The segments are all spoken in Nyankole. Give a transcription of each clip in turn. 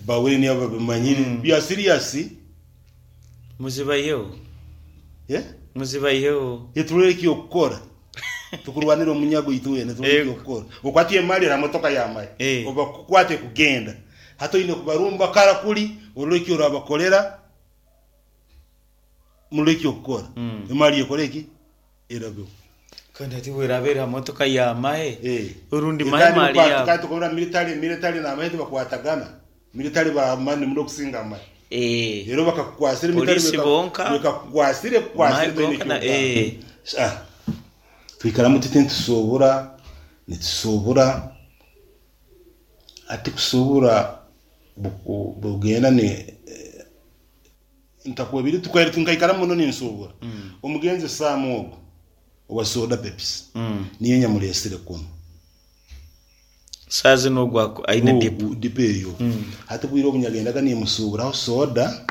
Bawire niyo babimanyire. Bya serious. Muzibaiheho. Eh? Muzibaiheho. Niturora eky'okukora. Tukurwanira omunyago itwena turore Ego. eky'okukora. Okwata emali era motoka ya mali. Eh. Obakukwate kugenda. Hati oine kubarumba kara kuri orore eki orabakorera murore eky'okukora. Emali ekore ki? Erabeho. Kandi hati bweraba eri ha motoka ya mahe Eh. orundi Eh, mahe kandi mali bukwata yabo. kandi tukabura military military n'amahe tibakwatagana. Military ba mani muno kusinga amahe. Eh. Rero bakakukwasira military Polisi beka- bonka. bekakukwasire kukwasire Mahe toine gonka na eky'okugamba. eh. Ah, twikaramu tuti nitusuubura nitusuubura hati kusuubura buku- bugenda ni eh, ntakwebire tukaire nkaikara muno ninsuubura omugenzi Sam ogu owa soda Pepsi niyo nyamureesire kunu. Saa zinu ogu aku- aine dipo. Ogu dipo eyo hati bwire obu nyagendaga nimusuuburaho soda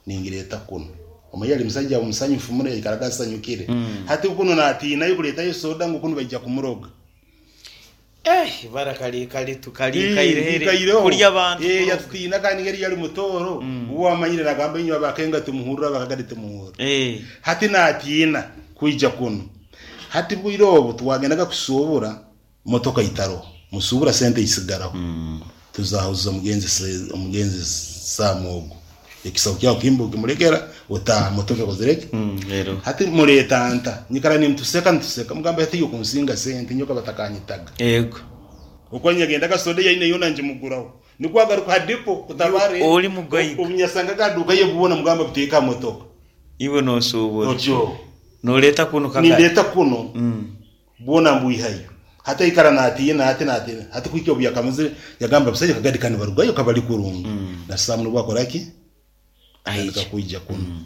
ningireeta kunu omanye yali musaija musanyufu muno yaikaraga asanyukire hati kunu natiinayo kureetayo soda ngu kunu baija kumuroga. Eh, ibara kali kali tukalikaire Ikaireho. kurya abantu. Eh, kuroga. yatutiina kandi ngeri yali mutooro uwo amanyire nagamba inywe abakenga tumuhurra abakagadi tumuhurra. Eh. Hati natiina kwija kunu hati bwire obu twagendaga kusuubura motoka itaroho musuubura sente isigaraho tuzahuza omugenzi omugenzi Sam ogu ekisaho kyawe kimbu kimurekera otaaha motoka ekozire ki? Rero. Hati mureeta nta nyikara nimutuseka nituseka mugamba hati iwe kunsinga sente nyowe batakanyitaga. Ego. Okwo nyagendaga soda yaine yoona ngimuguraho nikwo agaruka ha dipo kutabare Oli mugaiga. obu nyasangaga aha duuka ye bwona mugamba buteeke aha motoka. Iwe nosuubura. Otyo. Noreeta kunu kagari. Nindeeta kunu bwona mbwihayo. Hati aikara natiina hati natiina hati kuhika obu yakamazire yagamba abasaija akagari kanu barugayo kabari kurungi. Na Sam nubwo akora ki? Atandika Aija. kwija kunu.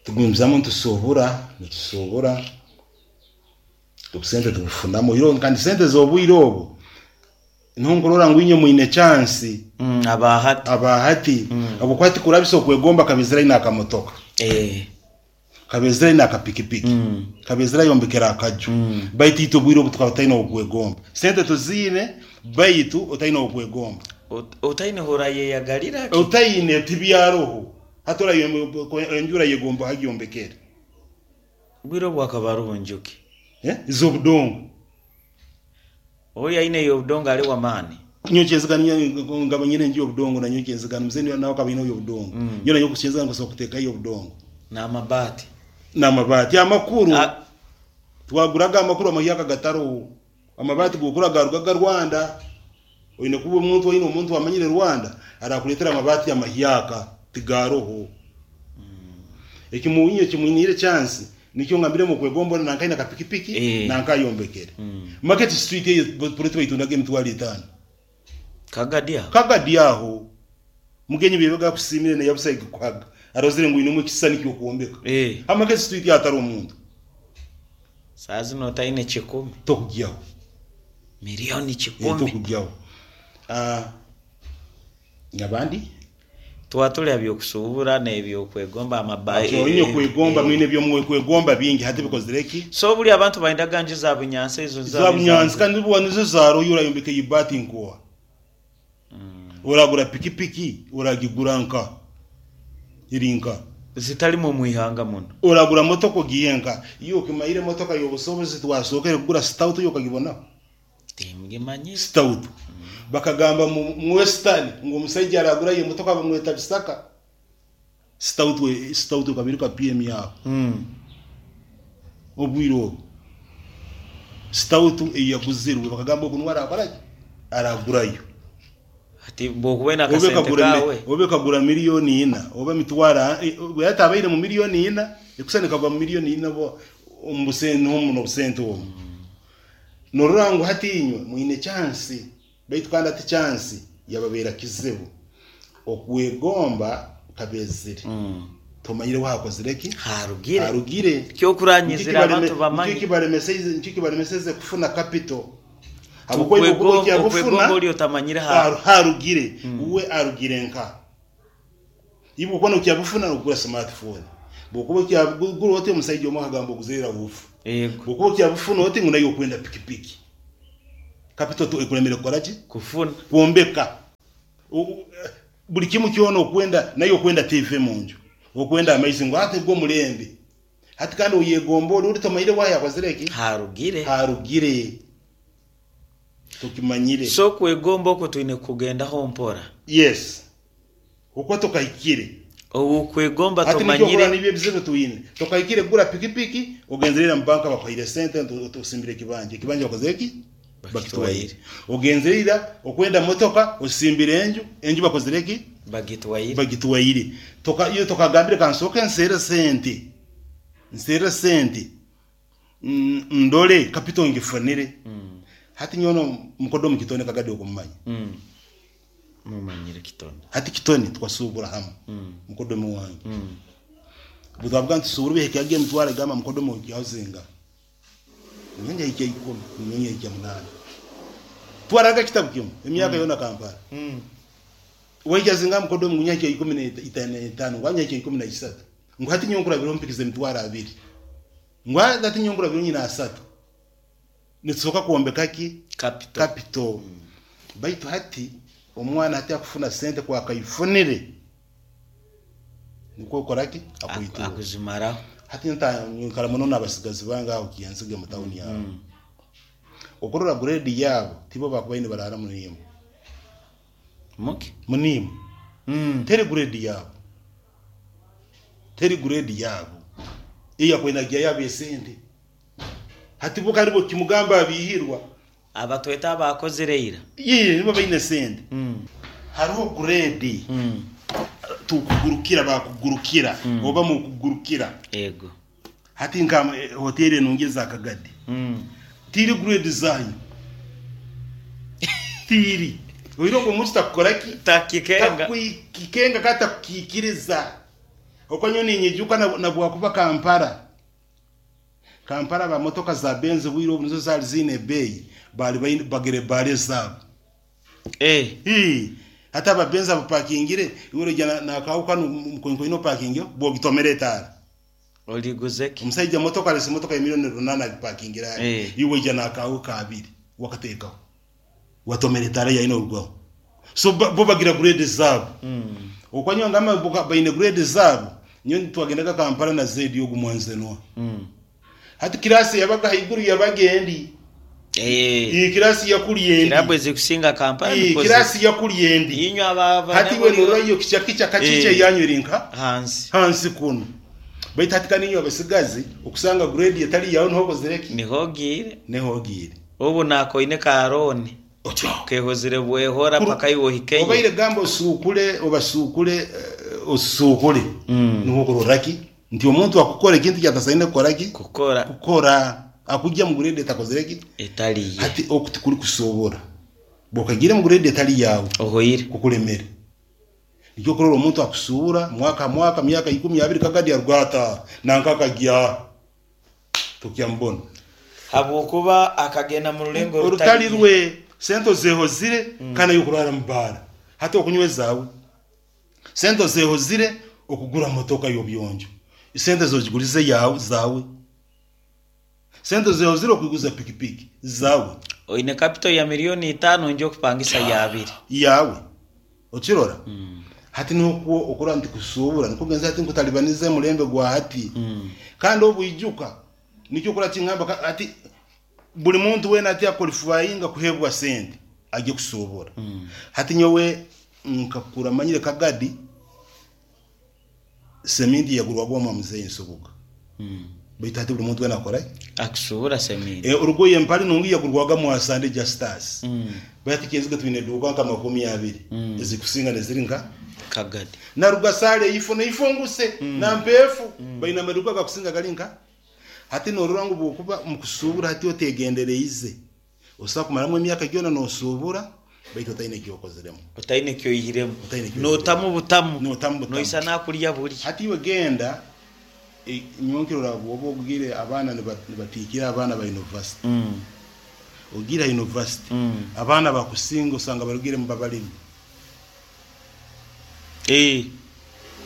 Tugumizamu nitusuubura nitusuubura obusente tubufunamu oihireho kandi sente z'obwire obu niho nkurora ngu inywe mwine chance Aba hati. aba hati habwokuba hati kurabisa okwegomba kabezire aine akamotoka. Eh. Kabezire aine akapikipiki. Kabezire ayombekere akaju. Baitu itwe obwire obu tukaba tutaine ow'okwegomba. Sente tuziine baitu otaine ow'okwegomba. Otaine horayeyagalira ki? Otaine tibyaroho. Hati enju orayegomba hagyombekere. Obwire obu hakaba haroho njuki. Eh? Z'obudongo. Oyo aine ey'obudongo ali w'amaani. Nyowe kyenzigana nkaba nyine enju y'obudongo nanyowe kyenzigana mzee nawe akaba aine ey'obudongo. Nyowe nanyowe kyenzigana nkusobora kuteekayo ey'obudongo. N'amabaati. N'amabaati amakuru. Twaguraga amakuru amahyaka gataroho. Amabaati g'okura gaarugaga Rwanda. Oine kuba omuntu oine omuntu amanyire Rwanda arakureetera amabaati amahyaka tigaroho. Ekimuwinyo ekimwiniire chance nikyo ngambiremu okwegomba onu nanka aine akapikipiki Eh. nanka ayombekere. Market street eyo poloti baitundaga emitwaro etaano. Kagadi aho. Kagadi aho. Mugenyi byebaga akusiimire naye busa kuhaga arozire ngu oinemu ekisisani ky'okwombeka. Eh. Ha Market street hatari omuntu. Saaha zinu otaine kikumi. Tokugyaho. Milioni Eh, kikumi. tokugyaho. Ah, abandi? Tuba tuli ha by'okusuubura n'ebyokwegomba amaba Ati oine kwegomba mwine eby'okwegomba bingi hati bikozire ki? So buri abantu baindaga nju za bunyansi ezo Za bunyansi kandi nibo nizo zaroyo orayombeka eibaati nkoha. Oragura pikipiki oragigura nka eri nka. Zitarimu omu ihanga muno. Oragura motoka ogiihe nka. Iwe okimayire emotoka y'obusobozi twasookere kugura stout yo okagibonaho? Tingimanyire. Stout. Bakagamba mu Western ngu omusaija aragurayo emotoka bamweta Bisaka. Stout stout ekaba eri ka PM yaho. Obwire obu. Stout eyaguzirwe bakagamba ogu nuwe arakora ki? Aragurayo. Hati bwokuba oine Oba akasente ekagura kaawe. oba ekagura milioni ina oba emitwaro hati abaire mu milioni ina ekusana ekagwa mu milioni ina omu busente niho muno obusente obu. Norora ngu hati inywe mwine chance baitu kandi hati chance yababeera kizibu. Okwegomba kabezire. Tomanyire wahakozire ki? Harugire. Harugire. Kyokuranyizira abantu bamanye. Nikyo kibaremeseze kufuna capital. Habwokuba iwe okuba okyabufuna, Okwegomba ori otamanyire ha. Harugire. Uwe arugire nka. Iwe okuba nokyabufuna nokugura smartphone. Bwokuba okyabugura oti omusaija omwe akagamba oguzire ravufu. Yego. Bwokuba okyabufuna oti ngu nayo okwenda pikipiki. Capital ekulemere kukora ki? Kufuna. Kwombeka. Buli kimu kyona okwenda naye okwenda TV munju, okwenda amaizi ngu hati gwo mulembe. Hati kandi oyegomba ori ori tomanyire wahi akozire ki? Harugire. Harugire. Tokimanyire. So okwegomba okwo twine kukugendaho mpora. Yes. Okwo tokahikire. Okwegomba Hati nikyo tomanyire. okurora nibyo ebizibu twine. Tokahikire kugura pikipiki, ogenzire ira mu banka bakuhaire sente nti osimbire ekibanja. Ekibanja bakozire ki? Bakitwaire. Ogenzire ira okwenda motoka, osimbire enju, enju bakozire ki? Bagitwaire. Bagitwaire. Toka iwe tokagambire kansooke nseere sente, nseere sente ndore capital ngifunire. Hati nyowe no mukodomi Kitone Kagadi okumumanya? Mumanyire Kitone. Hati Kitone tukasuubura hamwe, mukodomi wange. Obu twavuga nti tusuubure ebihika emitwaro egamba mukodomi oihaho zingaha? Nyowe nyahikya ikumi, nyowe nyahikya munaana. Twaraga kitabu kimwe emyaka yoona Kampala. Wahikya zingaha mukodomi ngu nyahikya ikumi n'etaano, ngu nyahikya ikumi na isatu. Ngu hati nyowe nkurabiraho mpikize emitwaro abiri. Ngu hati nyowe nkurabiraho nyine asatu. Nitusoboka kwombeka ki? Capital. Capital. Baitu hati omwana hati akufuna sente ku akaifunire nikwo okora ki? Akuitura. Akuzimaraho. Hati nkara muno n'abasigazi bange aho Kiyanzige mu tawuni aho. Okurora grade yaabo tibo bakubaire nibaraara muniimu. Muki? Muniimu. Teri grade yaabo. Teri grade yaabo. Eyakubaire nagihayo ab'esente. Hati bo kandi bwokimugamba abihirwa. Abatweta abaakozire ira. Yee, nibo baine sente. Hariho grade tukugurukira bakugurukira oba mukugurukira. Ego. Hati nka hoteri enungi eza Kagadi tiri grade zanyu tiri. Oine ogwo omuntu takukora ki? Takikenga. Takukikenga kandi takukikiriza. Okwo nyowe ninyijuka na bwakuba Kampala. Kampala ba motoka za Benz obwire obu nizo zali ziine ebeeyi, baali baine bagire ebaara ezaabo. Eh. Hii, hati aba Benz abapakingire, iwe oroija na nakaawe kanu mukoinkoine opakingeho, bwogitomera etaara. Origuze ki? Omusaija motoka arese motoka ya milioni runana agipakingire ari, iwe waija nakaawe kaabiri wakateekaho, watomera etaara yayo norugaho. So bo bagira grade zaabo. Okwa nyowe ngamba bo baine grade zaabo, nyowe twagendaga Kampala na Zedi ogu mwanzenwa. Hati kirasi eyabaga haiguru yabaga endi. Eh. Ii kirasi yakuri endi. Kirabu ezikusinga Kampala Ii nikwo ziri. kirasi yakuri endi. Inywe aba Hati iwe norora iyo kicha kicha kachiche Eh. yanyu eri nka hansi. Hansi kunu. Baitu hati kandi inywe abasigazi okusanga grade etari yawe niho okozire ki? Niho ogiire. Niho ogiire. Obu nakoine ka loan. Otyo. Kehozire bwehora paka iwe ohikeyo. Obaire gamba osuukule obasuukule osuukule niho okurora ki nti omuntu akukora ekintu eki atasaine kukora ki? Kukora. Kukora. Akugya mu grade etakozire ki? Etari ye. Hati oku tikuri kusobora. Bwokagiire mu grade etari yaawe. Ohoire. Kukulemere. Nikyo okurora omuntu akusuubura mwaka ha mwaka myaka ikumi abiri kagadi aruga ataaha nanka akagya. Tokyamubona. Habwokuba akagenda mu rulengo orutari rwe. Sente ozehozire kandi nayo okurara mu baara. Hati okunywa ezawe. Sente ozehozire okugura motoka y'obuyonjo. Sente zogigurize yawe zawe. Sente ozehozire okuguza pikipiki zawe. Oine capital ya milioni itaano nja okupangisa ya abiri. Yawe. Okirora? Hati nukwo okurora nti kusuubura nikwo kugenza hati nkutalibaniza emulembe gwa hati. Kandi obwijuka nikyo okurora kingamba hati buli muntu weena hati akwalifayinga kuheebwa sente agye kusuubura. Hati nyowe nkakura manyire Kagadi seminti yagurwaga omwa muzeeyi Nsubuga. Baitu hati buli muntu weena akora ki? Akusuubura seminti. Orugoye empare nungi yagurwaga Mwasande Justus. Baitu hati Kyenzige twine eduuka nka 20 ezikusinga neziri nka Kagadi. Na Rugasale eifo neifo nguse na Mpeefu baine amaduuka agakusinga gari nka hati norora ngu bwokuba omukusuubura hati otegendereize osobola kumaramu emyaka gyona nosuubura baitu otaine eki okoziremu. Otaine eki oihiremu. Otaine eki oihiremu. Notamu butamu. Notamu butamu. Noisa nakurya burya. Hati iwe genda nyowe nkirora bwoba ogire abaana nibatiikira abaana ba university. Ogiire ha university abaana bakusinga osanga barugire mu babalimi.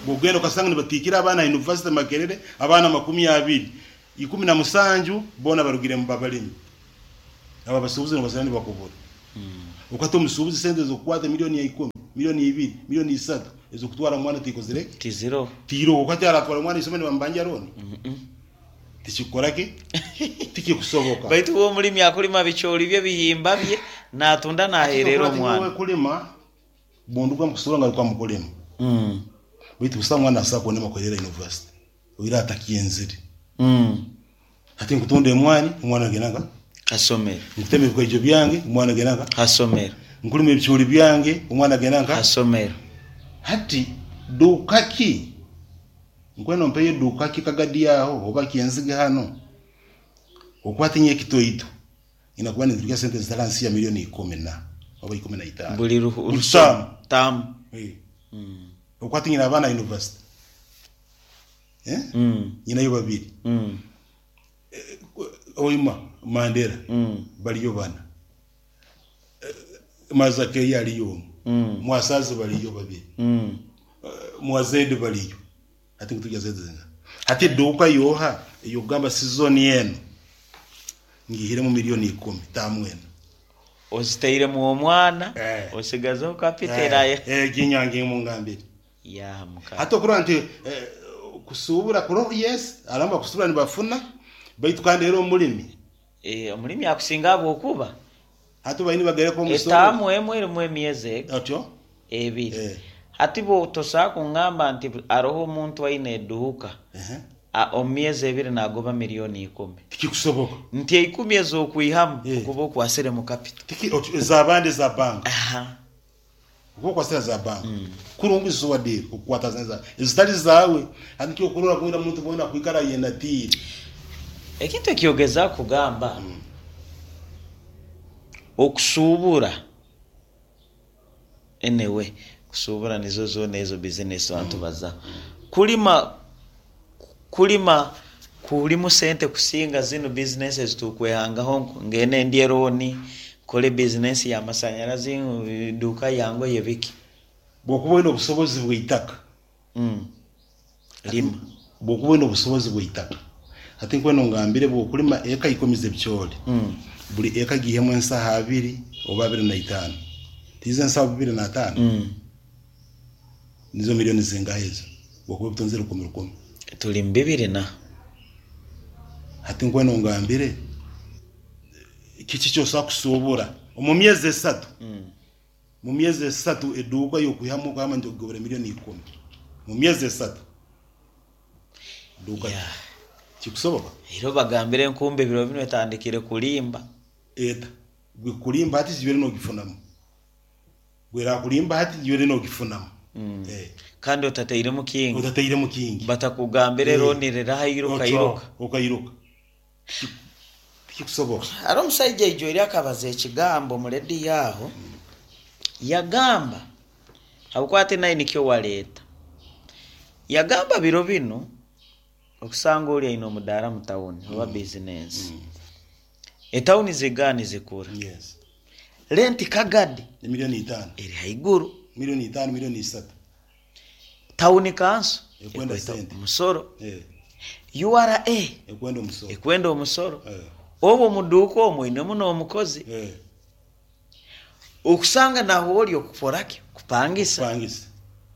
Bwogenda okasanga nibatiikira abaana ha university Makerere abaana 20, 17 boona barugire mu babalimi. Abo abasuubuzi nibasanga nibakubura. Okata omusuubuzi sente z'okukwata milioni ya ikumi. Milioni ibiri, milioni isatu ez'okutwara omwana tikozire ki? Tiziroho. Tiroho. Hati aratwara omwana isomero nibamubanja looni? Tikikukora ki? Tikikusoboka. Baitu uwe omulimi akulima bicoori bye, bihimba bye, naatunda Hati naaheerera nokora ati nyowe omwana. kulima bunduga mukusubura ngaruka mukulima. Baitu busaho mwana asobola kunema kuherera university oira atakyenzire. Hati nkutunda emwani omwana agenda nka? Hasomero. Nkutema ebikaijo byange omwana agenda nka? Hasomero. Nkulima ebicoori byange omwana agenda nka? Hasomero. Hati duuka ki? Nkwenda ompeyo eduuka ki kagadi aho oba kyenzige hanu okwate nyowe ekitoito nyina kuba ninturya sente zitari ahansi ya milioni ikumi na oba 15 Buli buli taamu. taamu. Okwate nyina abaana university nyinayo babiri Hoima Mandela bariyo bana Mazakeyo ariyo omwe Mwasazi bariyo babiri Mwazedi bariyo hati ngu turya sente zingaha? Hati eduuka yoha eyokugamba sizoni enu ngihiremu milioni ikumi taamu enu. Ozitairemu omwana osigazeho kapito eraya. Egi mungambire. Yaha mukama. Hati okurora nti kusuubura kuroho yes, hariho abakusuubura nibafuna baitu kandi era omurimi. Omurimi akusinga ahabw'okuba. Hati baine nibagereka omusoro. Etaamu emwe erimu emyezi ega? Otyo. Ebiri. Hati bwo tosobola kungamba nti haroho omuntu aine eduuka omu myezi ebiri nagoba milioni ikumi. Tikikusoboka. Nti eikumi ez'okwihamu okuba okwasiremu kapito. Tiki, otyo, ez'abandi eza banka. Okuba okwasire eza banka. Kurungi zisobola diiru okukwata ezitari zaawe. Hati nikyo okurora bwena omuntu bwena akwikara ayenatiire. Ekintu ekyogezaaku kugamba, okusuubura anyway kusuubura nizo zoona ezo bizinesi abantu bazaho. Kulima kulima kulimu sente kusinga zinu bizinesi eziturikwehangaho ngende ndye looni, nkore bizinesi ya masanyarazi, eduuka ya ngoye biki. Bwokuba oine obusobozi bw'eitaka. Lima. Bwokuba oine obusobozi bw'eitaka. Hati nkwenda ongambire bwokulima eka ikumi z'ebicoori, buri eka giihemu ensaho abiri oba 25. Tiizo ensaho 25? Nizo milioni zingaha ezo? Bwokuba obitunzire rukumi rukumi. Turi mu bibiri na. Hati nkwenda ongambire kiki eki osobola kusuubura omu myezi esatu. Mu myezi esatu eduuka y'okwihamu okugamba nti ogobere milioni ikumi mu myezi esatu duuka ki? Yeah. Kikusoboka? Era obagambire enkumbi ebiro binu etandikire kulimba. Eta gwe kulimba hati gibaire nogifunamu. Gwe erakulimba hati gibaire nogifunamu. Eh. Kandi otatairemu kingi. Otatairemu kingi. Batakugambire looni riraha iruka iruka. Okairuka. Tikikusoboka. Hariho omusaija aijoire akabaza ekigambo omu rediyo aho, yagamba, habwokuba hati nawe nikyo wareeta, yagamba biro binu okusanga ori aine omudaara omu tawuni oba bizinensi, etawuni zigara nizikura, renti kagadi eri haiguru. Milioni itaano, milioni isatu. Tawuni kanso Ekwenda ekweta sente. omusoro, Eh. URA Ekwenda omusoro. ekwenda omusoro. Eh. Obwo omu duuka omwo oinemu n'omukozi. Eh. Okusanga nahu ori okukora ki? Kupangisa. Kupangisa.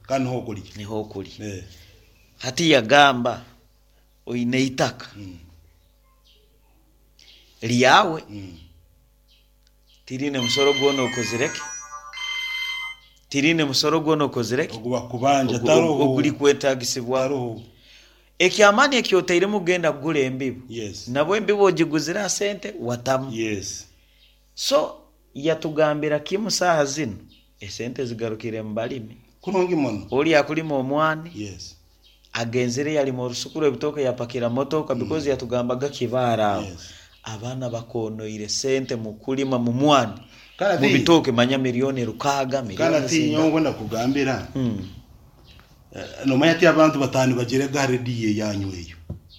Kandi niho okurya. Niho okurya. Eh. Hati yagamba oine eitaka ryawe. Tiriine musoro gwona okozire ki? Tiriine musoro gwona okozire ki? Ogu bakubanja taroho. Ogurikwetagisibwa. Taroho. Eky'amaani eki otairemu kugenda kugura embibo, Yes. nabwo embibo ogiguzire aha sente watamu. Yes. So yatugambira kimu saaha zinu esente zigarukire mu balimi. Kurungi muno. Ori akulima omwani. Yes. Agenzire yalima orusuku rw'ebitooke yapakira motoka because yatugambaga Kibaale aho Yes. abaana bakoonoire sente mu kulima mu mwani Kandi mu ati bitooke manya milioni rukaaga kandi milioni ati nyowe zingaha. nkwenda kukugambira nomanya ati abantu bataano nibagyerega aha rediyo eyanyu eyo.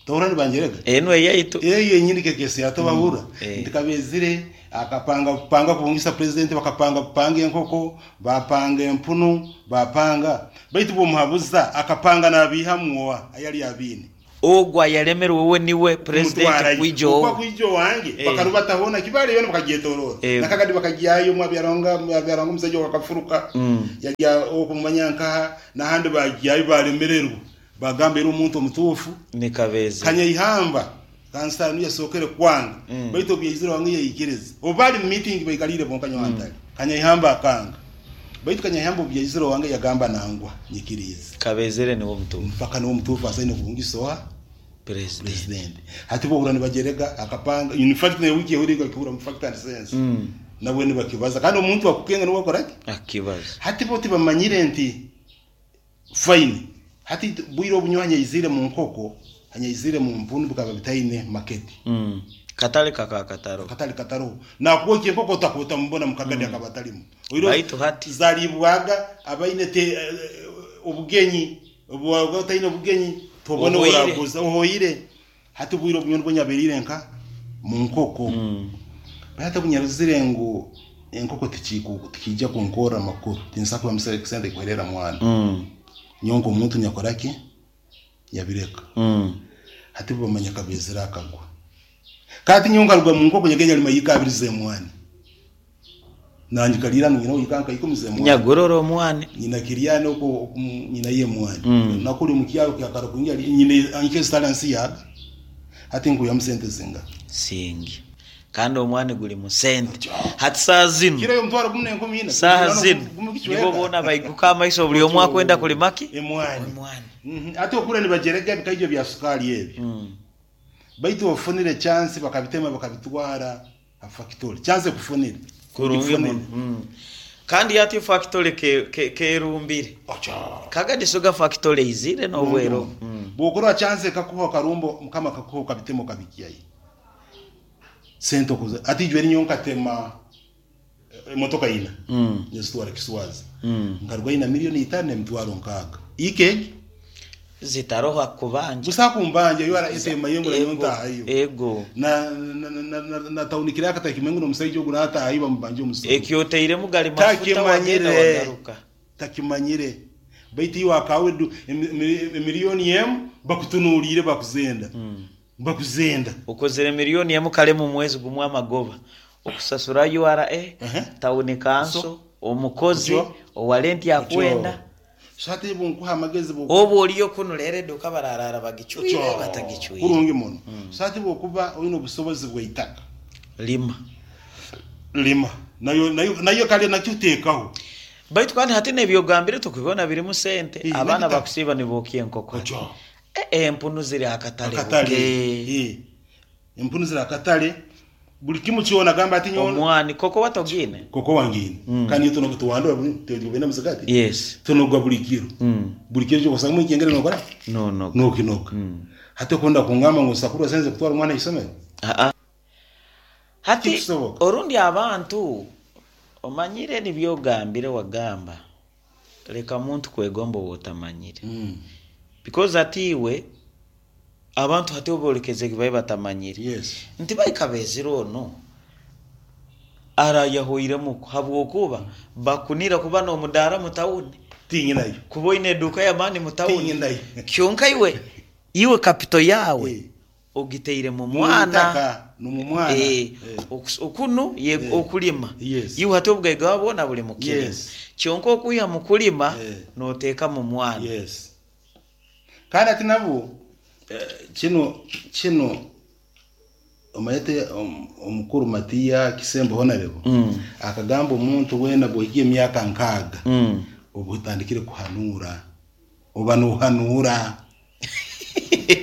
Tohurira nibangyerega? Enu eyaitu. Eyo yenyini kekesi yatobahurra Eh. nti kabezire akapanga kupanga kubungisa president bakapanga kupanga enkoko bapanga empunu bapanga baitu bwomuhabuza akapanga nabiihamu oha ayari abiine. Ogu ayalemerwe we niwe purezidenti Kumutwarayo. kwija Oku owe. akwija owange Eh. bakarubata hoona Kibaale yoona bakagyetoroora. Ego. Na Kagadi bakagyayo Mwabyarwanga Mwabyarwanga omusaija ogu akafuruka Mm. yagya okumanya nkaha n'ahandi bagyayo baremererwa bagamba era omuntu omutuufu Ni Kabezi. Kanyaihamba kansara niwe yasookere kwanga Mm. baitu obu yaizire owange yaikiriza. Obu bari mu meeting baikaliire bonka nyowe ntari. Kanyaihamba akanga. Baitu Kanyaihamba obu yaizire owange yagamba nangwa nyikiriize. Kabezere niwe omutuufu. Mpaka niwe omutuufu asaine kubungisa oha? President. President. Hati bo ohurra nibagyerega akapanga in fact na wiiki ehweire bakihurra mu fact and sense. Nabwe nibakibaza kandi omuntu akukenga niwe akora ki? Akibaza. Hati bo tibamanyire nti fine hati bwire obu nyowe hanyaizire mu nkoko hanyaizire mu mpunu bikaba bitaine market. Katale kakaba kataroho. Akatale kataroho. Nakwokya enkoko otakuba otamubona mu kagadi akaba atarimu. Oihireho Baitu hati. zariibwaga abaine te obugenyi obu waaba otaine obugenyi tobona Ohoire. oraguza ohoire. Hati obwire obu nyowe nibwo nyabereire nka mu nkoko. Baitu hati obu nyarozire ngu enkoko tikiija kunkorra amakuru tinsobola kwihamu sente kuheerera mwana. Nyowe nk'omuntu nyakora ki? Yabireka. Hati bo bamanya Kabezere akagwa. Kandi nyowe nkaruga mu nkoko nyagenda nyalima yiika abiri z'emwani. Nanye kaliira nyina yiika nka ikumi z'emwani. Nyagorora omwani. Nyina Kiryani okwo oku nyina y'emwani. Nakuri omu kyaro kya Karakungi ali nyina nke ezitali hansi yaga. Hati nkwihamu sente zingaha? Singi. Kandi omwani guri mu sente. Hati saaha zinu. Kiro y'omutwaro gumu n'enkumi ina. Saaha zinu nibo boona baiguka amaiso buri omwe akwenda kurima ki? Emwani. Emwani. Hati okura nibagyerega ebikaijjo bya sukaali ebyo. Baitu ofunire chance bakabitema bakabitwara ha factory. Chance ekufunire. Kurungi Ogifunire. muno. Kandi hati factory ke, ke, kerumbire. Ocho. Kagadi sugar factory eizire n'obwero. Bwokurora chance ekakuha okarumba mukama akakuha okabitema okabigyayo. Sente okuza hati ijwe nyowe nkatema emotoka ina nizitwara Kiswazi nkarugayo na milioni itano n'emitwaro nkaaga ika egi Zitaroho akubanja. busa kumbanja yo etema yengura nyowe Ego. ntahayo Ego. na na na na, na taunikira akatakimwe ngu omusaija ogu natahayo bamubanja omusoro Ekyoteiremu gari mafuta wagenda takimanyire wagaruka. takimanyire baitu iwe akawe emiliyoni emu bakutunuuriire bakuzenda bakuzenda Okozere milioni emu kare mu mwezi gumwe amagoba. Okusasura URA, tawuni kanso, omukozi, Otyo. owa renti akwenda. So hati bunkuha amagezi bu Obu oriyo kunu rero eduka bararara bagicwire batagicwire. kurungi muno. So hati bwokuba oine obusobozi bw'eitaka Lima. lima nayo nayo nayo kale nakyo teekaho. Baitu kandi hati n'ebyogambire tukubibona birimu sente. Eh, Abaana n'ebitaka. bakusiiba nibokya enkoko. Otyo. Empunu ziri akatale Akatale. buke. Eh. Empunu ziri akatale buli kimu kyona gamba ati nyowe Omwani koko watogine. koko wangine kandi iyo tunoga tuwandura tugenda muzigati Yes. tunoga buli kiro buli kiro kyokosanga mwikengere nokora No no. nokinoga hati okunda kungamba ngu sakurwa senze kutwara omwana isomero Ah ah. Hati Tikisoboka. orundi abantu omanyire nibyogambire wagamba leka muntu kwegomba owotamanyire. Because hati iwe abantu hati obolekeze babe batamanyire. Yes. Nti baikabezire ono arayahoiremu habwokuba bakunira kuba n'omudaara mu tawuni Tinyinayo. kuba oine eduuka y'amaani mu tawuni Tinyinayo. kyonka iwe iwe kapito yaawe Eh. ogiteire mu mwana Mwitaka nomumwana. Eh, okunu ye Eh. okulima Yes. iwe hati obugaiga bwona buli mu kirima Yes. kyonka okwiha mu kulima Eh. noteeka mu mwana Yes. Kandi ati nabo kino kino omayete omukuru Matiya Kisembo Honorable akagamba omuntu weena bwohiga emyaka nkaaga obu otandikire kuhanuura oba nohanuura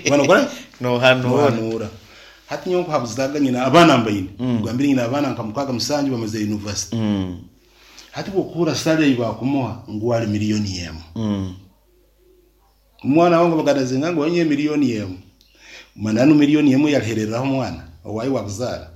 oba nokora nohanuura nohanuura hati nyowe nkuhabuzaga nyina abaana mbaine kugambire nyina abaana nka mukaaga musanju bamaze university hati bwokuhura salary ei bakumuha ngu ali miliyoni emu omwana wange bagadazinga ngu wanye miliyoni emu mananu miliyoni emu yalihereraho omwana owayi wakuzaara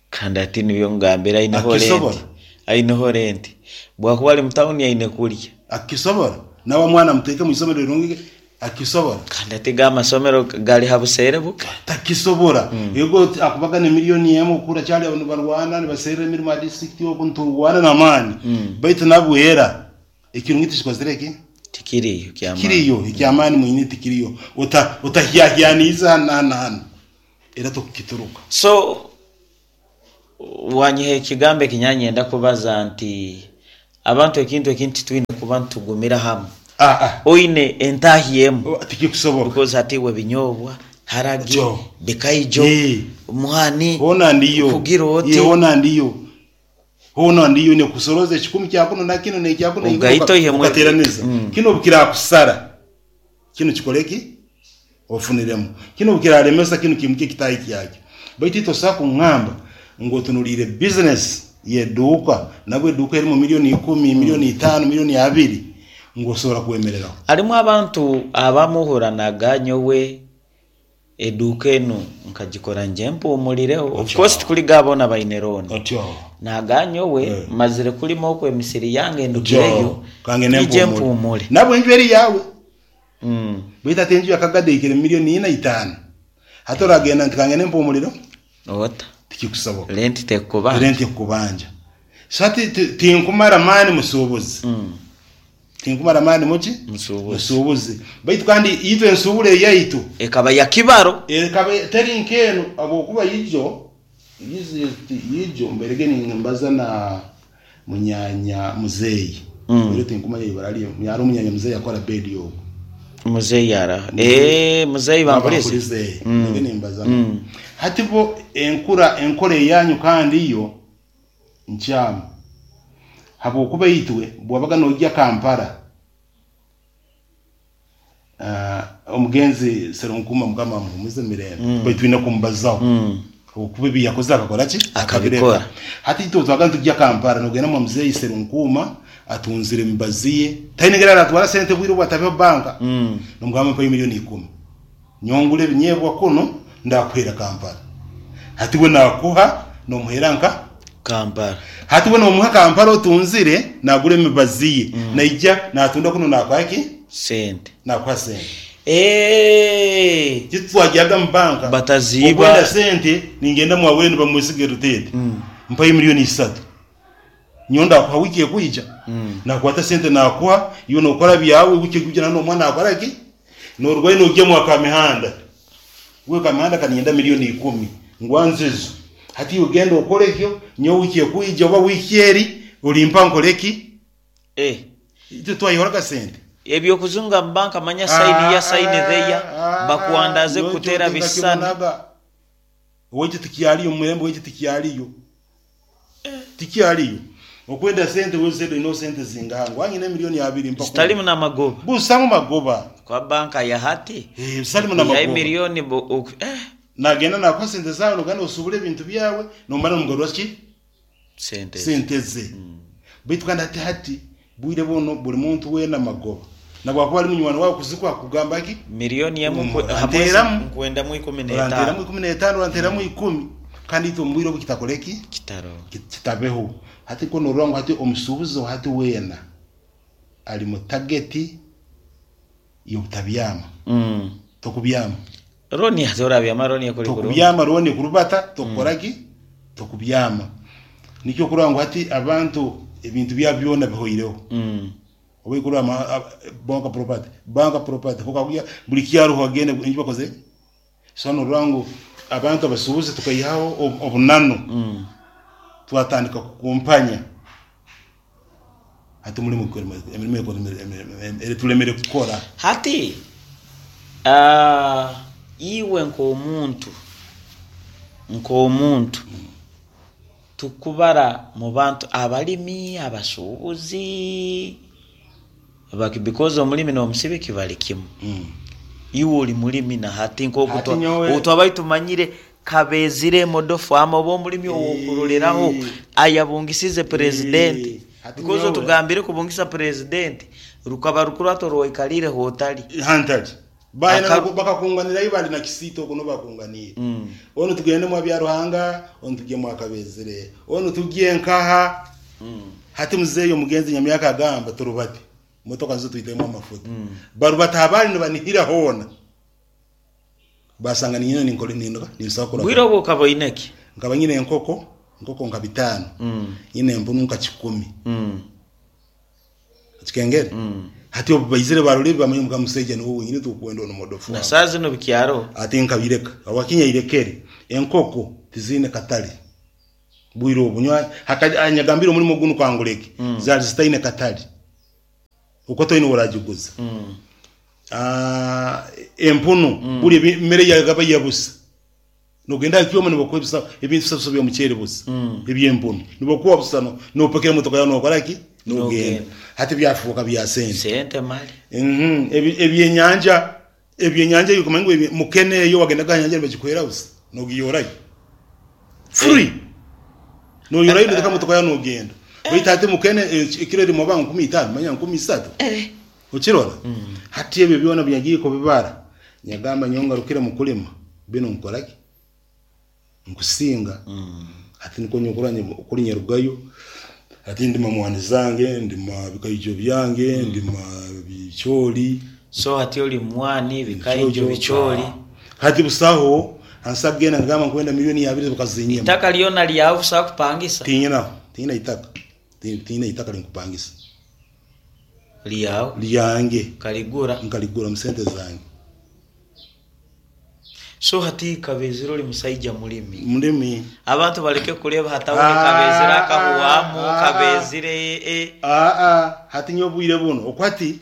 kandi ati nibyo ngambira aineho Akisobora. renti aineho renti bwakuba ali mutawuni aine kurya akisobora nawe mwana muteeke mu isomero rirungi akisobora kandi ati ga amasomero gali ha buseere buke takisobora ego akubaga ne miliyoni emu okura kyali abantu barwana nibaserera emirimo ya district oku nturwana n'amaani baitu nabwera ekirungi tikikozire ki? Tikiriyo kyamaani. Tikiriyo ekyamaani mwine tikiriyo. Ota otahyahyaniriza hanu na hanu na hanu era tokukituruka. So wanyiha ekigambo eki nyanyenda kubaza nti abantu ekintu eki titwine kuba nitugumira hamu. Ah ah. Oine entahya emu. Tikikusoboka. Because hati iwe binyobwa, harage, Kyo. bikaijo, Yee. muhani, Hoona ndiyo. kugira oti. Yee hoona ndiyo. Hoona ndiyo nekusoroza ekikumi kya kunu na kinu nekya kunu Ogaite oihemu okateraniza. Kinu obukiраkusara kinu kikole ki? Ofuniremu. Kinu obukiraremesa kinu kiimukye ekitaahi kyakyo. Baitu itwe tosobola kungamba ngu otunuliire bizinesi y'eduuka nabwo eduuka erimu milioni ikumi, milioni itaano, milioni abiri ngu osobola kwemereraho. Harimu abantu abamuhuranaga nyowe Eduuka enu nkagikora ngye mpuumurireho. Of course tikuri ga boona baine looni. Otyo. Naga nyowe Eh. mazire kulima oku emisiri yange Otyo. ndugireyo, Kange ne nyije mpuumure. mpuumure. Nabwo enju eri yaawe. Mm. Baitu hati enju yakagade ehikire milioni ina itaano. Hati oragenda nti kangende mpuumurireho? Ota. Tikikusoboka. Renti tekukubanja. Renti ekukubanja. So hati tinkumara maani musuubuzi. Tinkumara maani muki? Musuubuzi. Musuubuzi. Baitu kandi itwe ensuubura eyaitu. Ekaba ya kibaro. Ekaba teri nk'enu habwokuba ijo, ijo mbairege nimbaza na munyaanya muzeeyi. Oire tinkumanya ibara rye, hariho omunyaanya muzeeyi akora bedi ogwo. Muzeeyi araha? Eeh, muzeeyi Bankurize? Bankurize, mbaire nimbaza nawe. Hati bo enkura, enkora eyanyu kandi yo nkyamu habwokuba itwe bwabaga nogya Kampala omugenzi Serunkuma mukama amuhumuze mirembe baitu twine kumubazaho habwokuba ebi yakozire akakora ki? Akabikora. Hati itwe obutwabaga nitugya Kampala nogenda mwa muzeeyi Serunkuma atunzire emibazi ye taine engeri aratwara sente obwire obu atabeho banka nomugamba mpayo milioni ikumi Nyowe ngura ebinyeebwa kunu ndakuheera Kampala. Hati we naakuha noomuheera nka? Kampala. Hati we noomuha Kampala otunzire naagura emibazi ye naija naatunda kunu naakuha ki? Sente. Naakuha sente. Eeh! Itwe twagyaga omu banka Bataziiba. okwenda sente ningenda mwa Wayne bamwesiga Rutete mpayo milioni isatu. Nyowe ndakuha wiiki ekwija, nakwata sente nakuha, iwe nokora byawe, wiiki ekwija nanye nomuha nakora ki? Norugayo nogya mwa Kamihanda, iwe Kamihanda kaninyenda milioni ikumi ngwanze ezo. Hati iwe genda okore ekyo, nyowe wiiki ekwija oba wiiki eri olimpa nkore ki? Eh. Itwe twayihoraga sente. Eby'okuzunga mu banka manya sayini ya sayini theya, bakuwandaze Nyowe ekyo kukutera bisisani. tinkakibonaga. Owaitu tikyaliyo, omu mirembe owaitu tikyaliyo. Tikyaliyo. Okwenda sente we sente oineho sente zingaha ngu nyine emilioni abiri mpa Zitarimu n'amagoba. Busamu magoba. Kwa banka ya hati. Eh, zitarimu n'amagoba. Emilioni bo ok eh. Nagenda nakuha sente zawe nogenda osubura ebintu byawe nomara nomugarura ki? Sente ze. Sente ze. Baitu kandi hati hati bwire bunu buri muntu weena amagoba. Nabwakuba ari munywani wawe kuzikuha akugamba ki? Milioni emwe Mm, nkwe- hamwe Oranteramu. nkwendamu ikumi Oranteramu n'etaano. 15 oranteramu ikumi. Kandi itwe omu bwire obu kitakore ki? Kitaroho. Kitabeho. Hati ku norora ngu hati omusuubuzi owa hati weena ari mu tageti y'obutabyama. Tokubyama. Looni hati orabyama looni ekuri kurungi. Tokubyama looni ekurubata tokukora ki? Tokubyama. Nikyo okurora ngu hati abantu ebintu byabo byona bihoireho. Oba ekurora banka property, banka property hokakuya buri kyaruho agenda enju bakoze ki? So norora ngu abantu abasuubuzi tukaihaho obunanu twatandika kukumpanya hati omurimo emirimo eturemire kukora. Hati iwe nk'omuntu, nk'omuntu tukubara mu bantu abalimi, abasuubuzi, because omulimi n'omusibiki bari kimwe. Iwe ori mulimi na hati nk'oku Hati nyowe- obu twabaire tumanyire Kabezire Modo Farm oba omulimi ow'okuroreraho ayabungisize purezidenti. Hati Because nyowe- otugambire kubungisa purezidenti rukaba rukurato orwaikariire h'otari. Hantari. Baina Aka- bakakunganirayo bari na Kisiita okwo niho bakunganiire. Onu tugende mwa Byaruhanga, onu tugye mwa Kabezire, onu tugye nkaha. Hati muzeeyi omugenzi Nyamyaka agamba turubate. Motoka nizo twitemu amafuta. Barubata abari nibanihira hoona. Basanga niinyine ninkora nindoka ninsobola kukora. Bwire obwo okaba oine ki? Nkaba nyine enkoko, enkoko nka bitaano. Nyine empunu nka kikumi. Okikengere? Hati obu baizire barora ebi bamanya ngu musaija niwe wenyini turukwenda onu modofu Na wange. saaha zinu bikyaroho. Hati nkabireka. Habwaki nyairekere? Enkoko tiziine katale bwire obu. Nyowe haka nyagambire omulimo gunu kanguleke, zaali zitaine katale. Okwo toine oragiguza. Empunu buri emere yagaba yabusa. Nogenda aha kyoma nibakuha ebisa ebintu bisabiso by'omuceeri busa eby'empunu nibakuha busa no nopakira emotoka yaawe nokora ki nogenda Nogenda. hati byafuuka bya sente Sente mali. Mhm, ebi- ebyenyanja ebyenyanja iwe okamanya ngu ebi- mukene eyo wagendaga aha nyanja nibagikuhera busa nogiyorayo free noyorayo noteka motoka yaawe nogenda baitu hati mukene eh, ekiro erimu oba 50 manya 30 Eh. Okirora? Hati ebyo byona obu nyagiire kubibara, nyagamba nyowe ngarukire mu kulima, binu nkora ki? Nkusinga. Hati nikwo nyowe kurora kuri nyarugayo, hati ndima mwani zange, ndima bikaijo byange, ndima bicooli. So hati oli mwani, bikaijo, bicooli. Hati busaho hansi akugenda nkagamba nkwenda milioni abiri bakazinyima. Itaka lyona lyawe busaho kupangisa? Tinyinaho, tinyina itaka, tinyina itaka rinkupangisa. Lyawe. Lyange. Nkaligura. Nkaligura omu sente zange. So hati Kabezire ori musaija murimi. Murimi. Abantu bareke kureeba hati aho ni Kabezire akahuwamu, Kabezire e. Aa, hati nyowe obwire bunu, oku hati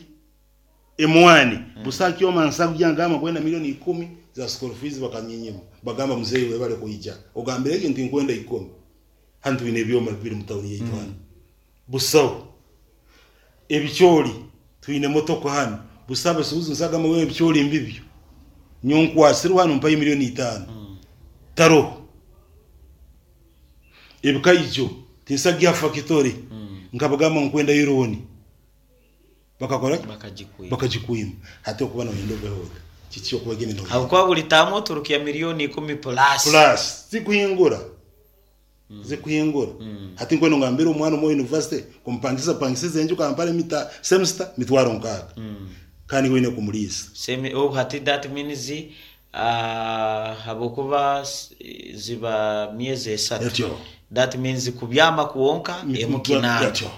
emwani busa kyoma nsa kugya ngamba nkwenda milioni ikumi za school fees bakanyinyima bagamba muzeyi webale kwija ogambire ki nti nkwenda ikumi hanu twine ebyoma bibiri mu tawuni yaitu hanu. Busaho ebicoori twine motoka hanu busaho abasuubuzi nsagamba ngu ebicoori mbibyo nyowe nkwasirwe hanu mpayo milioni itaano taroho ebikaijo tinsagiha fakitore nkabagamba ngu nkwendayo looni bakakora ki Bakagikwima. bakagikwima hati okuba noyenda obeho ota kiki okuba gene noyenda Habwokuba buri taamu oturukya milioni ikumi plus. plus zikuhingura zikuhingura. Hati nkwenda ngambire omwana omwe wa university kumupangisa pangisiza enju Kampala emita semester mitwaro nkaaga kandi iwe oine kumuriisa. Semi oh hati that means ahabwokuba ziba myezi esatu Etyo. that means kubyama kwonka emu kinaana. Etyo.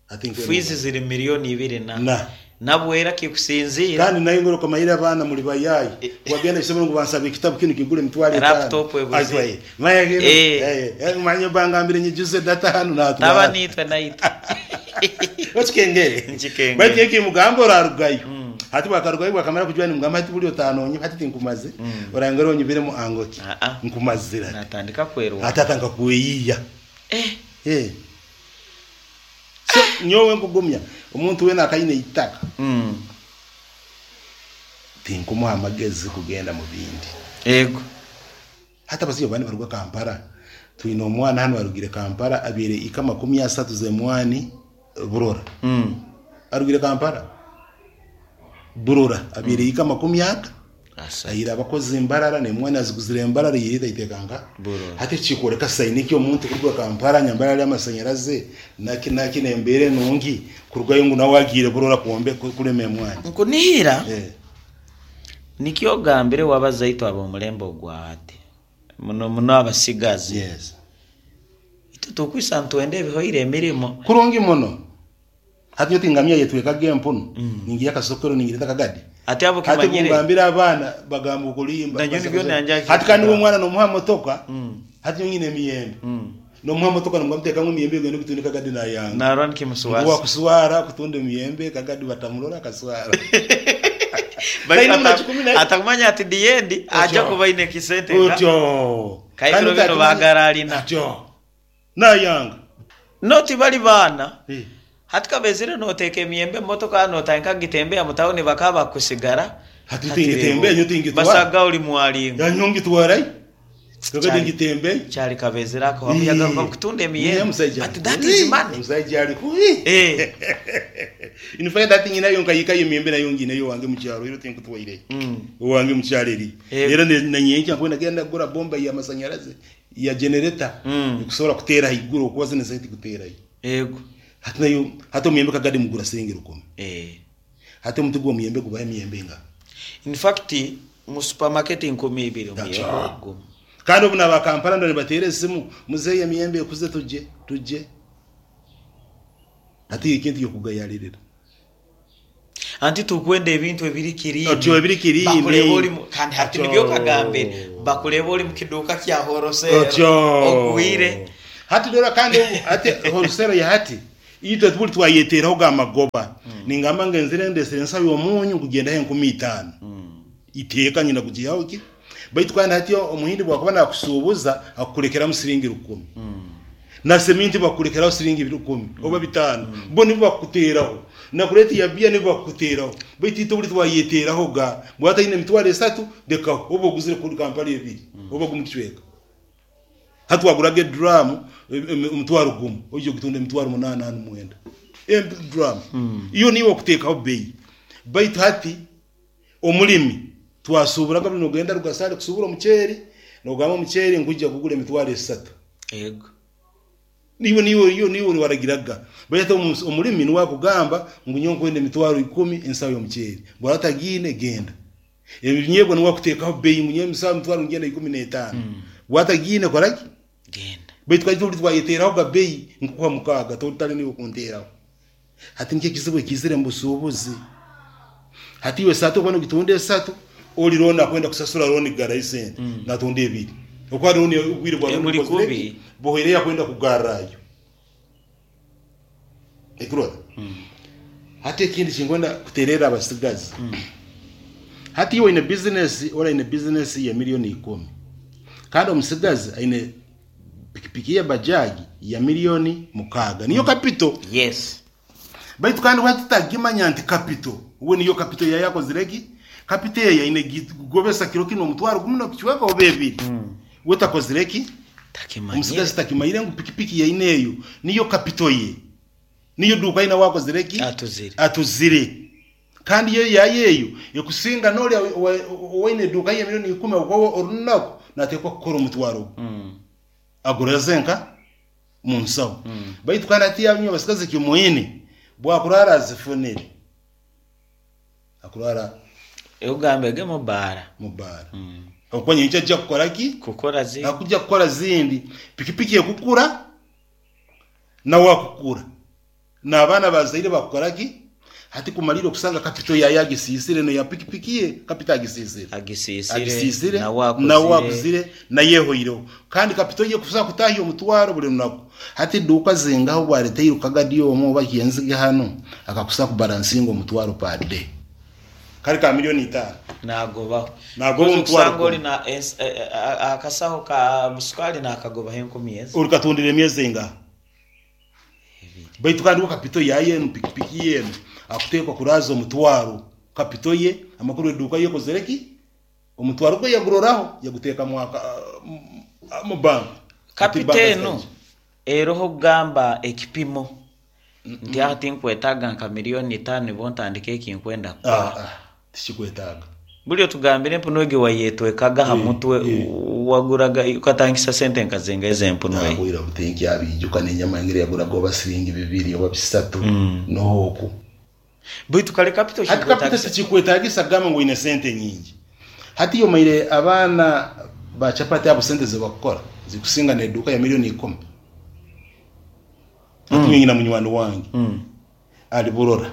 Hati nkwenda Fees ngambire. ziri milioni ibiri na. Na. Nabwera kikusinziira. Kandi nainwe okamanyire abaana muri bayayi wagenda isomero ngu bansaba ekitabu kinu kigura emitwaro etaano Laptop ebuze. Aitwaye. Manya kinu Eh. eh, eh, manya bangambire nyijuze data hanu Taba natwara. nitwe naitwe. Okikengere. Nkikengere. Baitu eki mugamba orarugayo. Hati bwakarugayo bwakamara kujwa nimugamba hati buri otanonye hati tinkumaze. Orangere onyibiremu angoki. Ah, ah. Nkumazira. Natandika kwerwa. Hati atandika kweyiya. Eh. Eh. So nyowe nkugumya omuntu wena akaine itaka tinkumuha amagezi kugenda mu bindi. Ego. Hati abasaija abandi baruga Kampala twine omwana hanu arugire Kampala abaire ika 30 z'emwani Burora. Arugire Kampala Burora abaire ika makumi ata Ahaire abakozi Mbarara n'emwani aziguzire Mbarara yaireta aiteeka nka Burora. Hati eki kikworeka sayini ki omuntu kuruga Kampala nyambara hariyo amasanyaraze naki naki n'embeera enungi kurugayo ngu nawe agiire Burora kwombe kurema emwani. Nkunihira Eh. nikyo ogambire wabaza itwe ab'omulembe ogwa hati muno muno abasigazi. Yes. Itwe tukwisa nitwenda ebihoire emirimo. Kurungi muno. Hati nyowe tingamya yetwekaga empunu, ningiiha akasokero ningireta akagadi. Hati abo Hati kimanyire. kungambira abaana bagamba okulimba. Nanyowe nibyo nangya Hati kandi kugamba. omwana nomuha motoka, hati nyowe nyine emiyembe. Nomuha motoka nomugamba tekamu emiyembe ogende ogitunde kagadi nayanga. Narora Ngu nikimuswaza. wakuswara kutunda emiyembe kagadi batamurora akaswara. Baitu Taine muna kikumi naye. atakumanya ati the end aja Otyo. kuba aine ekisente nka. Otyo. Kaibiro Kandi bino takumanya- baagara alina. Otyo. Nayanga. No tibali baana. Eh. Hati kabezire noteeka emiyembe omu motoka notandika kugitembeya mu tawuni bakaba bakusigara. Hati Hati tingitembeya reeba nyowe tingitwara. basaga ori mwaringo. Nyowe ngitwarayo. Kagadi Kyari ngitembeya. kyari kabezire ako wamu yagaruka kutunda Niye emiyembe. omusaija But that is money. Omusaija ari kubi. Eh. In fact hati nyinayo nkayikayo emiyembe nayo ngineyo owange omu kyaro ero tinkutwaireyo. Owange omu kyaro eriyo. Era na nyenkya nkwenda kugenda kugura bomba y'amasanyarazi ya generator ekusobora kuteera haiguru okuba zinu esente tikuteerayo. Ego. Hati nayo hati omuyembe kagadi mugura siringi rukumi. Eh. Hati omuti gw'omuyembe gubaho emiyembe engaha? In fact mu supermarket 2000 omuyembe gumu. Kandi obu naba Kampala ndaba nibateera esimu, muzeeyi emiyembe ekuze tujje, tujje. Hati ekintu ky'okugayaririra. Anti turikwenda ebintu ebiri kiriini. Otyo ebiri kiriini. Bakureeba ori mu kandi hati Otyo. nibyo okagambire. Bakureeba ori mu kiduuka kya wholesale Otyo. ogwire. Hati dora kandi obu hati wholesale ya hati itwe tiburi twayeteeraho ga magoba. Ningamba ngenzire ndesire ensaho y'omunyu nkugyendaho 5000. Iteeka nyine kugiihaho ki? Baitu kandi hati omuhindi bwakuba nakusuubuza akukurekeramu siringi rukumi. Na seminti bakukurekeraho siringi rukumi oba bitaano. Bo nibo bakukuteeraho. Na kureeti ya biya nibo bakukuteeraho. Baitu itwe buri twayeteeraho ga. Bwaba ataine emitwaro esatu, rekaho. Oba oguzire kuri kampala ebiri oba gumu kicweka. Hati waguraga eduraamu omutwaro gumu, oija ogitunda emitwaro munaana hanu mwenda. Eduraamu. Iyo niiwe okuteekaho beeyi. Baitu hati Omurimi, twasuuburaga buri noogenda Rugasaari kusuubura omuceeri, noogamba omuceeri nkwija kugura emitwaro esatu. Ego. Niiwe niiwe iwe niiwe waragiraga. Baitu hati omurimi niwe akugamba ngu nyowe nkwenda emitwaro ikumi ensaho y'omuceeri. Bwaba atagiine genda. Ebinyeebwa niwe akuteekaho beeyi ngu nyowe ensaho emitwaro ngyenda 15. Bwaba atagiine kora ki? Genda. Baitu twali turi twayeteerahoga beeyi nkukuha mukaaga totari niiwe kunteeraho. Hati nikyo ekizibu ekiizire omu busuubuzi. Hati iwe esaati okuba nogitunda esatu, ori looni akwenda kusasura looni kugarrayo esente, natunda ebiri. Okuba looni obwire bwa looni Eburi bukozire kubi. ki? Buhweireyo akwenda kugarrayo. Ekurora? Hati ekindi kinkwenda kutererra abasigazi. Hati iwe oine bizinesi, ori aine bizinesi ya milioni ikumi, kandi omusigazi aine Pikipiki ye bajaji ya milioni mukaaga niyo kapito. Yes. Baitu kandi we tutagimanya nti kapito we niyo kapito yaye akozire ki? Kapito eyo aine gigobesa kiro kinu omutwaro gumu nokicweka oba ebiri. We takozire ki? Takimanyire. Omusigazi takimanyire ngu pikipiki yaine eyo niyo kapito ye. Niyo duuka ye nawe akozire ki? Atuzire. Atuzire. Kandi yo yayo eyo ekusinga n'ori owaine eduuka ye milioni ikumi ahabw'okuba we orunaku nateekwa kukora omutwaro gwe aguraze nka mu nsaho. Baitu kandi hati inywe abasigazi eki mwine bwakuraara azifunire akuraara Ogambege mu baara. mu baara ahabw'okuba nyenkya aija kukora ki? Kukora zindi. Akuja kukora zindi. Pikipiki ekukura nawe akukura. N'abaana bazaire bakukora ki? Hati kumariire okusanga kapito yaayo agisiisire n'eya pikipiki ye kapito agisiisire. Agisiisire, Agisiisire, nawe akuzire. nawe akuzire, naye ehoireho. Kandi kapito ye kuza kutaahya omutwaro buri runaku. Hati eduuka zingaha obu areteire kagadi omwe oba kyenzige hanu akakusa kubalansinga omutwaro per day? Kari ka milioni itaano. Naagobaho. Naagoba Kozi omutwaro okusanga ori gumwe. na ens- e- e- a- akasaho ka sukari naakagobaho enkumi ezi. Orikatundira emyezi engaha? Baitu kandi we kapito yaye enu pikipiki ye enu akuteekwa kuraaza omutwaro kapito ye amakuru eduuka ye ekozere ki omutwaro gwe yaguroraho yaguteeka mu mu bank hati Kapito banka enu zitaija. eroho kugamba ekipimo nti aha tinkwetaaga nka milioni itaano nibwo ntandike eki nkwenda kukora. Ah, ah, tikikwetaaga. Buri otugambire empunu egi wayetwekaga aha mutwe waguraga okatangisa sente nka zingahi ez'empunu egi? Nahwire obu tinkyabiijuka n'enyama engeri yaguraga oba siringi bibiri oba bisatu noho oku. Baitu kare kapito Hati kapito kikwetagisa. tikikwetagisa kugamba ngu oine sente nyingi. Hati iwe omaire abaana ba chapati abo sente zibakukora zikusinga n'eduuka ya milioni ikumi. Hati nyowe nyina munywani wange ari Burora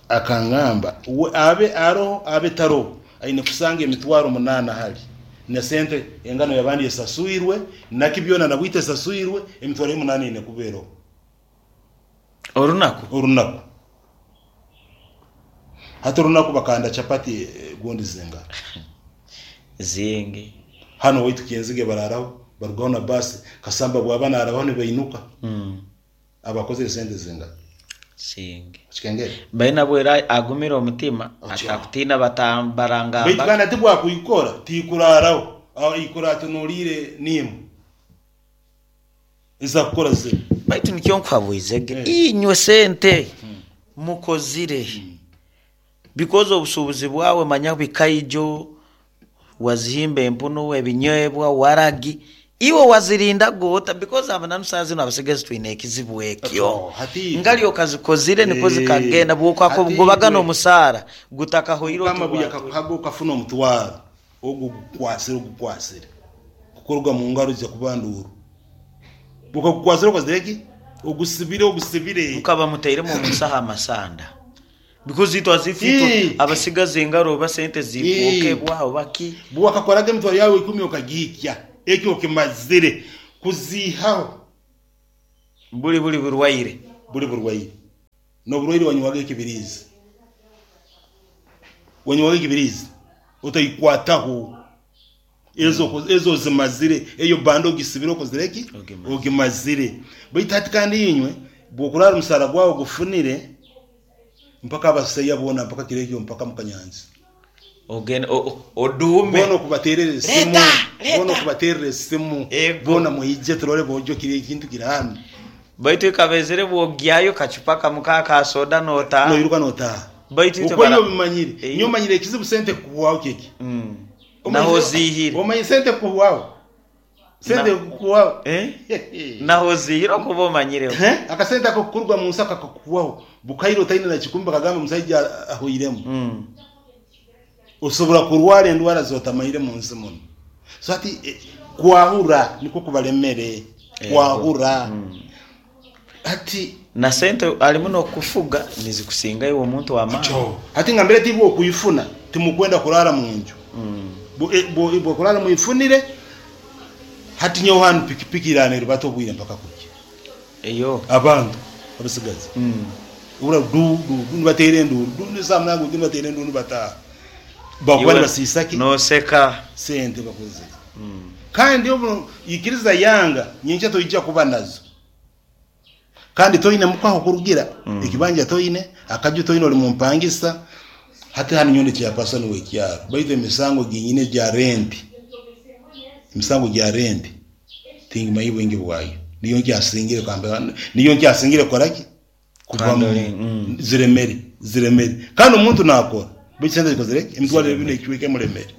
akangamba we abe aroho abe taroho aine kusanga emitwaro munaana hali na sente engano yabandi esaswirwe naki byona na bwite esaswirwe emitwaro ye munaana eine kuba eroho Orunaku? Orunaku. Hati orunaku bakanda chapati gundi zingaha? Zingi. Hanu owaitu Kyenzige bararaho barugaho na basi Kasamba bwaba narabaho nibainuka. Abakozire sente zingaha? Zingi. Okikengere? Baine abwera agumire omutima Otyo. atakutiina Baitu barangamba. kandi hati bwakuikora tikuraraho aikora atunulire nimu ezakukora zinu. Baitu nikyo nkuhabwizege inywe sente mukozire because obusuubuzi bwawe manya bikaijo wazihimba empunu ebinywebwa waragi iwe wazirindaga ota because amananu saaha zinu abasigazi twine ekizibu ekyo Otyo, hati itwe ngali okazikozire nikwo zikagenda Eh, bwokako hati gubaga itwe n'omusaara gutakahoire oti Mukama bwatwire. buyakakuhaga okafuna omutwaro ogu ogukwasire ogukwasire kukuruga mu ngaro ija kuba nduuru Okagukwasire okozire ki? Ogusibire ogusibire. Mukaba mutairemu omu nsaho amasanda. Because itwe as if itwe Ii. abasigazi engaro oba sente Ii. zikwokebwa oba ki. Bwewakakoraga emitwaro yaawe ikumi okagihikya, ekyo okimazire kuziihaho. Buri buri burwaire. Buri burwaire. N'oburwaire wanywaga ekibiriizi. Wanywaga ekibiriizi otaikwataho. Ezo ezo ozimazire, eyo banda ogisibire okozire ki? Ogimazire. Ogimazire. Baitu hati kandi inywe bw'okuraara omusaara gwawe ogufunire mpaka abasaija boona mpaka kiro ekyo mpaka mukanyanza. Ogende oduume. Boona okubateerera esimu, Leeta! boona Leeta! okubateerera esimu, Ego. boona mwije turole bojo kiri ekintu kiri hanu. Baitu ekaba ezire bw'ogyayo kacupa kamu ka ka soda n'otaaha. Noiruka n'otaaha. Baitu itwe Okwo bara iwe obimanyire. Ei. Nyowe manyire ekizibu sente kukuhwaho kyeki. Mm. Naho oziihire. Omanyire sente kukuhwaho? Sente Na- kukuhwaho? Eh? Naho oziihire okuba omanyireho. Eh? Akasente ako kuruga mu nsi akakuhwaho. Bukaire otaine na kikumi bakagamba omusaija ahwairemu. Osobora kurwara endwara zotamanyire mu nsi muno. So hati eh, kwahura nikwo kubalemere. Ego. Kwahura. Hati Na sente harimu n'okufuga nizikusinga iwe omuntu w'amaani. Kyo. Hati ngambire ti bw'okwifuna timukwenda kuraara mu nju. Bw'okuraara mwifunire hati nyowe hanu pikipiki eraara nerubata obwire mpaka kukya. Eyo. Abantu abasigazi obura du du du nibateera enduuru du du esaaha munaaga gutyo nibateera enduuru nibataaha. Bakuba Iwe nibasiisa ki? noseka. Sente bakozire. Kandi obu ikiriza yanga nyenkya toija kuba nazo. Kandi toine muka ahokurugira, ekibanja toine, akaju toine ori mumpangisa, hati hanu nyowe ndi chairperson w'ekyaro baitu emisango ginyine gya rent, emisango gya rent tingimanyire bwingi bwayo, niyo nkyasingire niyo nkyasingire kukora ki? Kuvamu, Handling, mm. ziremere, ziremere. Kandi omuntu nakora baitu sente zikozire ki? Emitwaro ebiri n'ekicweka emuremere.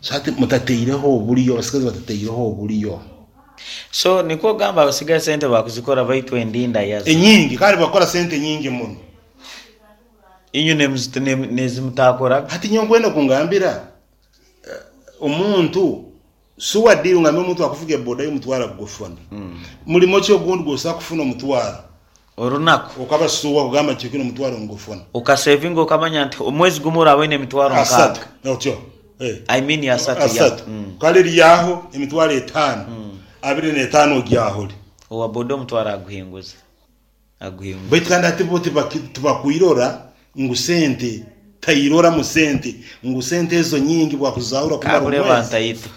So hati mutateireho oburyo, abasigazi batateireho oburyo. So nikwo ogamba abasigazi sente bakuzikora baitu endinda yazo. Enyingi kandi bakora sente nyingi muno. Inywe nezimutakoraga. Hati nyowe nkwenda kungambira omuntu suwa deal ngambe omuntu akuvuga eboda y'omutwaro akugufuna. Mulimo ki ogundi gwosobola kufuna omutwaro? Orunaku. Okaba suwa kugamba nti kino omutwaro ngufuna. Okasevinga okamanya nti omwezi gumu oraba oine emitwaro Asatu. nkaaga. Otyo. Eh. I mean asatu ya. Asatu. Kale eryaho emitwaro etaano. Abiri n'etaano ogyahore. Owa boda omutwaro aguhinguza. Aguhinguza. Baitu kandi hati bo tibakwirora ngu sente, tairoramu sente ngu sente ezo nyingi bwakuzahura kumara Kakureba omwezi. ntaito.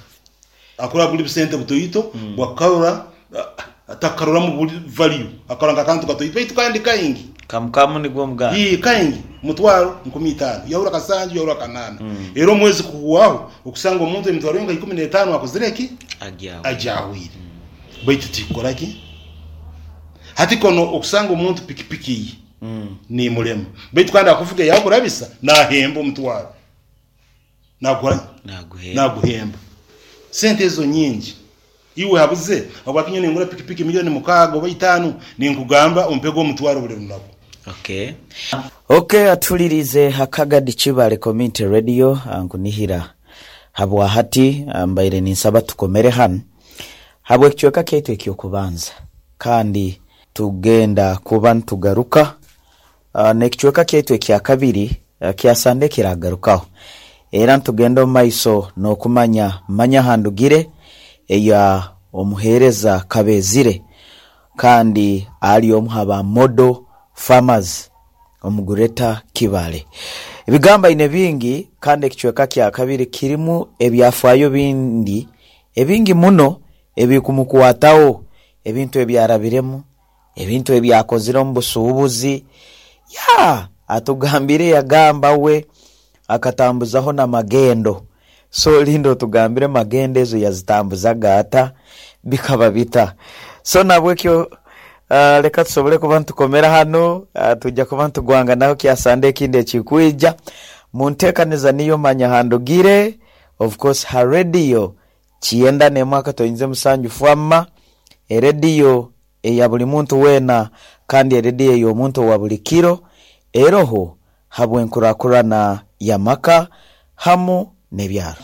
Akurora buri busente butoito bwakukarora atakaroramu buri value akarora nka kantu katoito baitu kandi kaingi. Kamu kamu nigwo omuganda. Ii kaingi mutwaro nkumi itaano yahura kasanju yahura kanaana era omwezi kuhwaho okusanga omuntu emitwaro yo nka ikumi n'etaano akozire ki? Agyahwire. Agyahwire. Baitu tikukora ki? Hati kono okusanga omuntu pikipiki ye nimurema baitu kandi akuvuga eyakurabisa nahemba omutwaro. Nagukora ki? Naguhemba. Naguhemba. Sente ezo nyingi. Iwe habuze habwaki nyowe ningura pikipiki milioni mukaaga oba itaano ninkugamba ompege omutwaro buri runaku. Okay. Okay atuhuliriize Hakagadi Kibale Community Radio nkunihira habwahati mbaire ninsaba tukomere hanu habwekicweka kyaitu ekyokubanza kandi tugenda kuba nitugaruka N'ekicweka kyaitu ekyakabiri kya Sande kiragarukaho. Era nitugenda omu maiso n'okumanya Manya Handugire eya Omuheereza Kabezire kandi ali omu ha ba Model Farmers omu Greater Kibale. Ebigambo aine bingi kandi ekicweka kyakabiri kirimu ebyafaayo bindi ebingi muno ebikumukwataho, ebintu ebyarabiremu, Ebintu ebi akozire omu busuubuzi, yaa atugambire yagamba we akatambuzaho na magendo. So linda otugambire magendo ezo yazitambuzaga ata, bikaba bita. So nabwekyo leka tusobole kuba nitukomera hanu, twija kuba nitugwanganaho kyasande ekindi ekikwija. Muntekaniza niyo Manya Handugire, of course ha radio kyenda n'emwe akatoinze musanju fwama, erediyo eya buli muntu weena kandi erediyo ey'omuntu owa buli kiro eroho habw'enkurakurana y'amaka hamu n'ebyaro.